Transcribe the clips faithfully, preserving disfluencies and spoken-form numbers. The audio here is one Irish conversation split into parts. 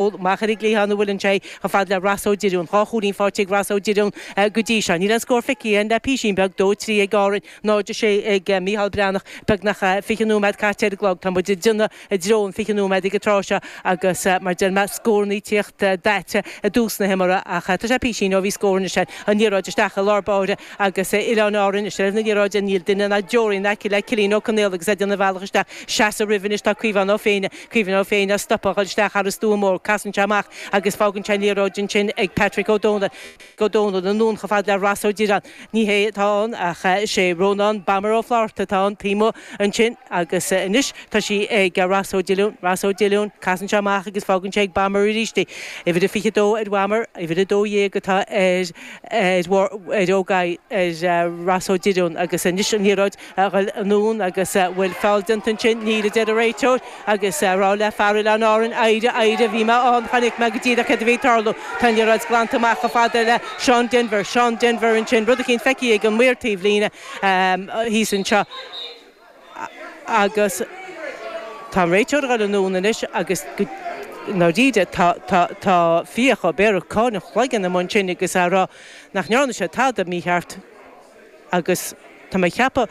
Amach ar an gcliathán a bhfuil sé chomh fada le Ross Ó Direáin, dhá chúilín faighte ag Ross Ó Direáin go dtí seo. Níl an scór feicthe againn le písín beag, dó trí ag Árainn, náid a sé ag Mícheál Breathnach, beagnach fiche nóiméad caite ar an gclog. Tá muid ag déanamh i dtreo an fiche nóiméad ag an tráth seo agus mar deir mé, scóranna ag tíocht daite i dtús na himeartha ach tá sé písín ó bhí scór anois. An liathróid isteach i lár báire agus Oileáin Árann i seilbh na liathróide, níl duine ná deoraí in aice le Cillian Ó Conaola agus é ag déanamh a bhealach isteach. Seasamh roimhe anois tá Caomhán Ó Féinne. Caomhán Ó Féinne á stopadh a dhul isteach thar an stua mór. Casann sé amach agus fágann sé an liathróid ansin ag Patrick Ó Dónaill. Ó Dónaill anonn chomh fada le Ross Ó Direáin. Ní hé atá ann ach is é Rónán Bomber Ó Flatharta atá ann taobh amuigh ansin agus anois tá sí ag Ross Ó Dileáin. Ross Ó Dileáin, casann sé amach agus fágann sé ag Bomber arís í. Uimhir a fiche dó ar Bhomber, uimhir a dó dhéag atá ar ar Ó ar Ross Ó Direáin agus anois an liathróid a dhul anonn agus bhfuil feall déanta ansin, níl a deir an réiteoir agus a rá le fear Oileáin Árann, éirigh, éirigh, bhí mé ann, chonaic mé go díreach céard a bhí ag tarlú. Tá an liathróid glanta amach chomh fada le Seán Denvir, Seán Denvir ansin, rud eicínt feicthe ag an maor taobh líne thíos anseo agus tá an réiteoir ag dul anonn anois agus go ndáiríre tá tá tá Fiach Ó Béarra ag cáineadh a chloigeann amuigh ansin agus á rá nach ndearna sé tada mícheart agus tá mé ag ceapadh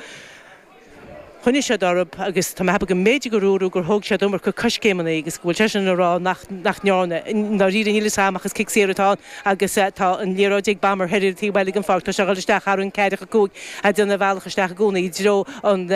Choinnigh siad orthu agus tá mé ag ceapadh go mb'fhéidir gur dúradh gur thóg siad iomarca coiscéimeanna agus go bhfuil seisean ag rá nach nach ndearna. I ndáiríre níl fhios a'm ach is cic saor atá ann agus tá an liathróid ag Bomber thoir ar an taobh eile den pháirc. Tá sé ag dul isteach thar an ceathracha cúig ag déanamh a bhealach isteach i gcónaí i dtreo an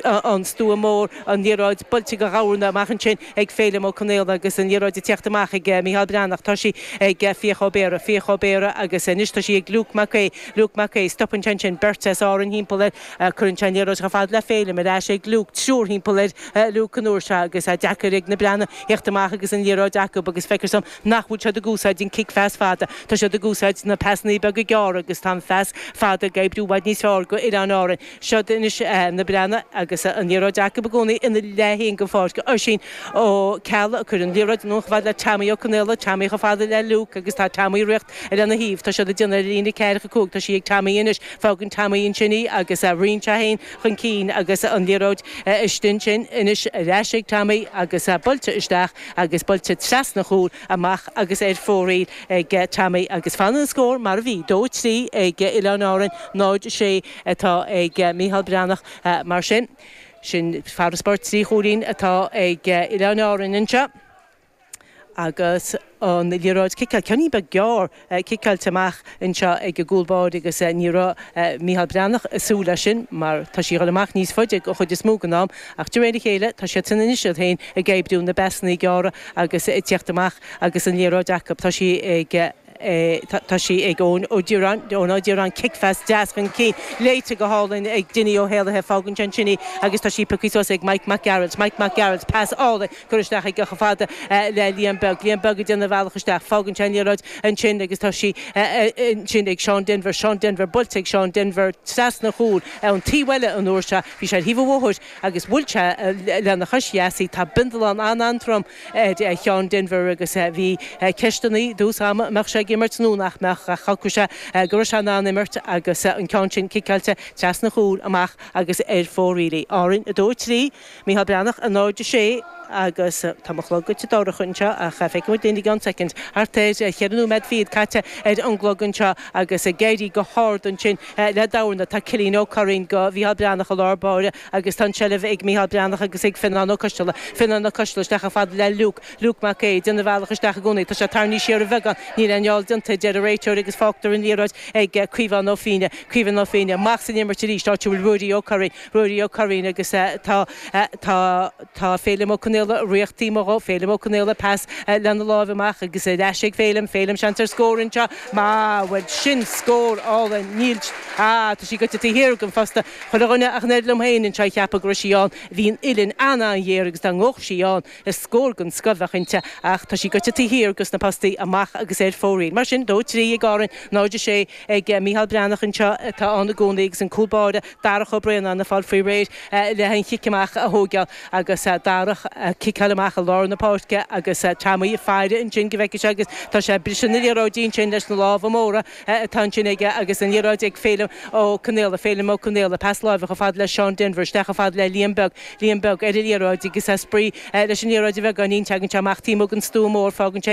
an stua mór, an liathróid buailte go Ghamhna amach ansin ag Féilim Ó Conaola agus an liathróid ag tíocht amach ag Mícheál Breathnach. Tá sí ag Fiach Ó Béarra, Fiach Ó Béarra agus anois tá sí ag Luke Mac Aodha, Luke Mac Aodha. Stopann sé ansin beirt as Árainn thimpeall air. Cuireann sé an liathróid chomh fada le Féilim, ar ais ag Luke, triúr thimpeall ar Luke an uair seo agus é deacair ag na Breathnaigh theacht amach agus an liathróid acu agus feictear dom nach bhfuil siad ag úsáid an cic phas fada. Tá siad ag úsáid na pasannaí beaga gearra agus tá an phas fada ag oibriú i bhfad níos fearr go Oileáin Árainn. Siod anois na Breathnaigh agus an liathróid acu i gcónaí ina leath féin den pháirc. Oisín Ó Ceallaigh ag cur an liathróid anonn chomh fada le Tommy Ó Conaola, Tommy chomh fada le Luke agus tá Tommy ag rith lena thaobh. Tá siad ag déanamh ar líne ceathracha cúig. Tá sí ag Tommy anois. Fágann Tommy ansin í agus ritheann sé féin chun cinn agus an liathróid istigh ansin anois ar ais ag Tommy agus buailte isteach agus buailte trasna a chúil amach agus ar fóraoil ag Tommy agus fanann an scór mar a bhí, dó trí ag Oileáin Árann, náid sé atá ag Mícheál Breathnach mar sin. Sin farasbarr trí chúilín atá ag Oileáin Árann anseo. Agus an liathróid ciceáilte, ceann beag gearr ciceáilte amach anseo ag an gcúl báire agus ní raibh Mícheál Breathnach ag súil leis sin mar tá sí ag dul amach níos faide an chuid is mó den am ach de réir a chéile tá siadsan anois iad féin ag oibriú na bpasannaí gearra agus ag tíocht amach agus an liathróid acu. Tá sí ag. Tá sí ag Eoin Ó Direáin, Eoin Ó Direáin, cic-phas deas chun cinn, léite go hálainn ag Dinny Ó hÉallaithe, fágann sé ansin í agus tá sí pioctha suas ag Mike Mac Gearailt, Mike Mac Gearailt, pas álainn curtha isteach aige chomh fada le Liam Beag, Liam Beag ag déanamh a bhealach isteach, fágann sé an liathróid ansin agus tá sí ansin ag Seán Denvir, Seán Denvir, buailte ag Seán Denvir trasna a chúil ar an taobh eile an uair seo, bhí sé ar thaobh an bhóthair agus bhuail sé lena chois dheas í, tá bindealán an-an-trom ar Sheán Denvir agus bhí ceisteanna i dtús ama an mbeadh sé ag imirt nó nach mbeadh ach shocraigh sé go raibh sé in ann imirt agus an ceann sin ciceáilte trasna a chúil amach agus ar fóraoil í. Árainn a dó a trí, Mícheál Breathnach a náid a sé agus tá mo chlog goite dorcha anseo ach feicfidh muid linn i gceann soicind. Thart ar cheithre nóiméad fichead caite ar an gclog anseo agus ag éirí go hard ansin le Damhna tá Cillian Ó Curraoin go Mhícheál Breathnach i lár báire agus tá an tseilbh ag Mícheál Breathnach agus ag Fionnán Ó Coisteala. Fionnán Ó Coisteala isteach chomh fada le Luke. Luke Mac Aodha ag déanamh a bhealach isteach i gcónaí. Tá sé tarraingthe siar ar bheagán. Níl aon fheall déanta, a deir an réiteoir agus fágtar an liathróid ag Caomhán Ó Fiaine. Caomhán Ó Fiaine amach san imirt arís, áit a bhfuil Ruairí Ó Curraoin. Ruairí Ó Curraoin agus tá tá tá Féilim Ó Conaola ag ritheacht taobh amuigh dhó. Féilim Ó Conaola pas lena láimh amach agus ar ais ag Féilim. Féilim seans ar scór anseo. Má, bhuel sin scór álainn. Níl, ah, tá sí goite taobh thiar den phosta. Chuile dhuine ach an oiread liom féin anseo a cheapadh go raibh sí ann. Bhí an uillinn an-an-ghéar agus dá ngabhadh sí ann, is scór den scoth a bheadh inti ach tá sí goite taobh thiar dos na postaí amach agus ar fóraoil. Riain. Mar sin, dó trí ag Árainn, náid a sé ag Micheál Breathnach anseo atá ann i gcónaí agus an cúl báire Darach Ó Braonáin ag fáil faoi réir le an chic amach a thógáil agus Darach ag ciceáil amach i lár na páirce agus Tommy ag faire ansin go bhfeicfidh sé agus tá sé ag briseadh na liathróidí ansin leis na lámha móra atá ansin aige agus an liathróid ag Féilim Ó Conaola, Féilim Ó Conaola, pas láimhe chomh fada le Seán Denvir, isteach chomh fada le Liam Beag, Liam Beag ar an liathróid agus ag spraoi leis an liathróid a bheagáinín, tagann sé amach taobh amuigh den stua mór, fágann sé